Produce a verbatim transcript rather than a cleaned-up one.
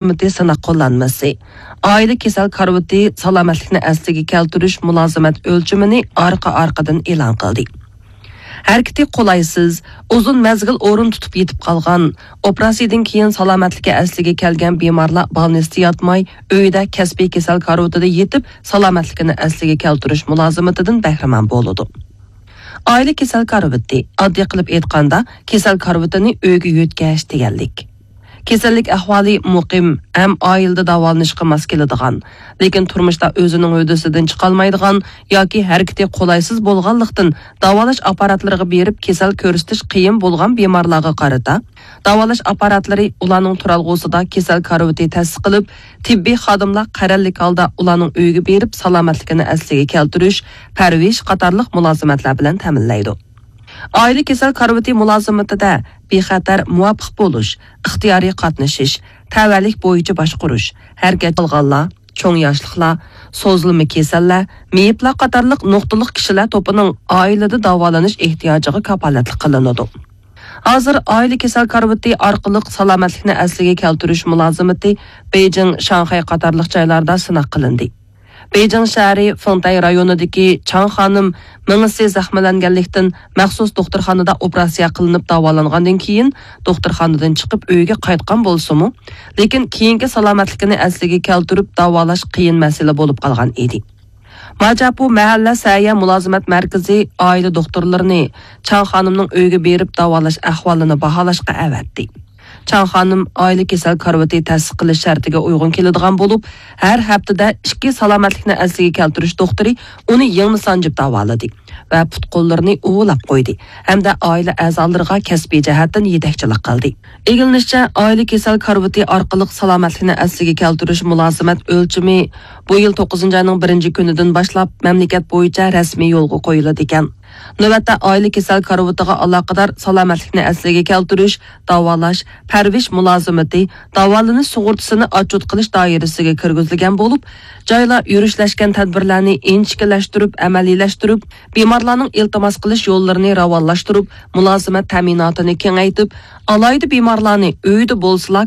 مۇلازىمىتى سىناق قوللانمىسى، ئائىلە كېسەل كارىۋىتى سالامەتلىكنى ئەسلىگە كەلتۈرۈش مۇلازىمەت ئۆلچىمىنى ئارقا-ئارقىدىن ئېلان قىلدى. ھەرىكىتى قولايسىز، ئۇزۇن مەزگىل ئورۇن تۇتۇپ يېتىپ قالغان، ئوپېراتسىيىدىن كېيىن سالامەتلىكى ئەسلىگە كەلگەن بىمارلار بالنىستتا ياتماي، ئۆيىدە كەسپىي كېسەل كارىۋىتىدا يېتىپ، سالامەتلىكىنى ئەسلىگە كەلتۈرۈش مۇلازىمىتىدىن بەھرىمەن بولىدۇ. ئائىلە كېسەل كارىۋىتى، ئاددىي قىلىپ ئېيتقاندا، كېسەل كارىۋىتىنى ئۆيگە يۆتكەش دېگەنلىك. كېسەللىك ئەھۋالى مۇقىم ھەم ئائىلىدە داۋالىنىشقا ماس كېلىدىغان، لېكىن تۇرمۇشتا ئۆزىنىڭ ھۆددىسىدىن چىقالمايدىغان ياكى ھەرىكىتى قولايسىز بولغانلىقتىن، داۋالاش ئاپپاراتلىرىغا بېرىپ كېسەل كۆرسىتىش قىيىن بولغان بىمارلارغا قارىتا، داۋالاش ئاپپاراتلىرى ئۇلارنىڭ تۇرالغۇسىدا كېسەل كارىۋىتى تەسىس قىلىپ، تېببىي خادىملار قەرەللىك ھالدا ئۇلارنىڭ ئۆيىگە بېرىپ، سالامەتلىكىنى ئەسلىگە كەلتۈرۈش، پەرۋىش قاتارلىق مۇلازىمەتلەر بىلەن تەمىنلەيدۇ. ئائىلە كېسەل كارىۋىتى مۇلازىمىتىدە بىخەتەر، مۇۋاپىق بولۇش، ئىختىيارىي قاتنىشىش، تەۋەلىك بويىچە باشقۇرۇش، ھەرىكەت قىلغانلار، چوڭ ياشلىقلار، سوزۇلما كېسەللەر، مېيىپلەر قاتارلىق نۇقتىلىق كىشىلەر توپىنىڭ ئائىلىدە داۋالىنىش ئېھتىياجىغا كاپالەتلىك قىلىنىدۇ. ھازىر ئائىلە كېسەل كارىۋىتى ئارقىلىق سالامەتلىكنى ئەسلىگە كەلتۈرۈش مۇلازىمىتى بېيجىڭ، شاڭخەي قاتارلىق جايلاردا سىناق قىلىندى. بېيجىڭ شەھىرى فېڭتەي رايونىدىكى چاڭ خانىم مېڭىسى زەخىملەنگەنلىكتىن، مەخسۇس دوختۇرخانىدا ئوپېراتسىيە قىلىنىپ داۋالانغاندىن كېيىن، دوختۇرخانىدىن چىقىپ ئۆيىگە قايتقان بولسىمۇ، لېكىن كېيىنكى سالامەتلىكىنى ئەسلىگە كەلتۈرۈپ داۋالاش قىيىن مەسىلە بولۇپ قالغان ئىدى. ماجاپۇ مەھەللە سەھىيە مۇلازىمەت مەركىزى ئائىلە دوختۇرلىرىنى چاڭ خانىمنىڭ ئۆيىگە بېرىپ داۋالاش ئەھۋالىنى باھالاشقا ئەۋەتتى. چاڭ خانىم ئائىلە كېسەل كارىۋىتى تەسىس قىلىش شەرتىگە ئۇيغۇن كېلىدىغان بولۇپ، ھەر ھەپتىدە ئىككى سالامەتلىكنى ئەسلىگە كەلتۈرۈش دوختۇرى ئۇنى يىڭنە سانجىپ داۋالىدى ۋە پۇت-قوللىرىنى ئۇۋىلاپ قويدى ھەمدە ئائىلە ئەزالىرىغا كەسپىي جەھەتتىن يېتەكچىلىك قىلدى. ئىگىلىنىشىچە، ئائىلە كېسەل كارىۋىتى ئارقىلىق سالامەتلىكنى ئەسلىگە كەلتۈرۈش مۇلازىمەت ئۆلچىمى بۇ يىل توققۇزىنچى ئاينىڭ بىرىنچى كۈنىدىن باشلاپ مەملىكەت بويىچە رەسمىي يولغا قويۇلىدىكەن. نۆۋەتتە ئائىلە كېسەل كارىۋىتىغا ئالاقىدار سالامەتلىكنى ئەسلىگە كەلتۈرۈش، داۋالاش، پەرۋىش مۇلازىمىتى، داۋالىنىش سۇغۇرتىسىنى ئاتچوت قىلىش دائىرىسىگە كىرگۈزۈلگەن بولۇپ، جايلار يۈرۈشلەشكەن تەدبىرلەرنى ئىنچىكىلەشتۈرۈپ ئەمەلىيلەشتۈرۈپ، بىمارلارنىڭ ئىلتىماس قىلىش يوللىرىنى راۋانلاشتۇرۇپ، مۇلازىمەت تەمىناتىنى كېڭەيتىپ، ئالاھىدە بىمارلارنى ئۆيىدە بولسىلا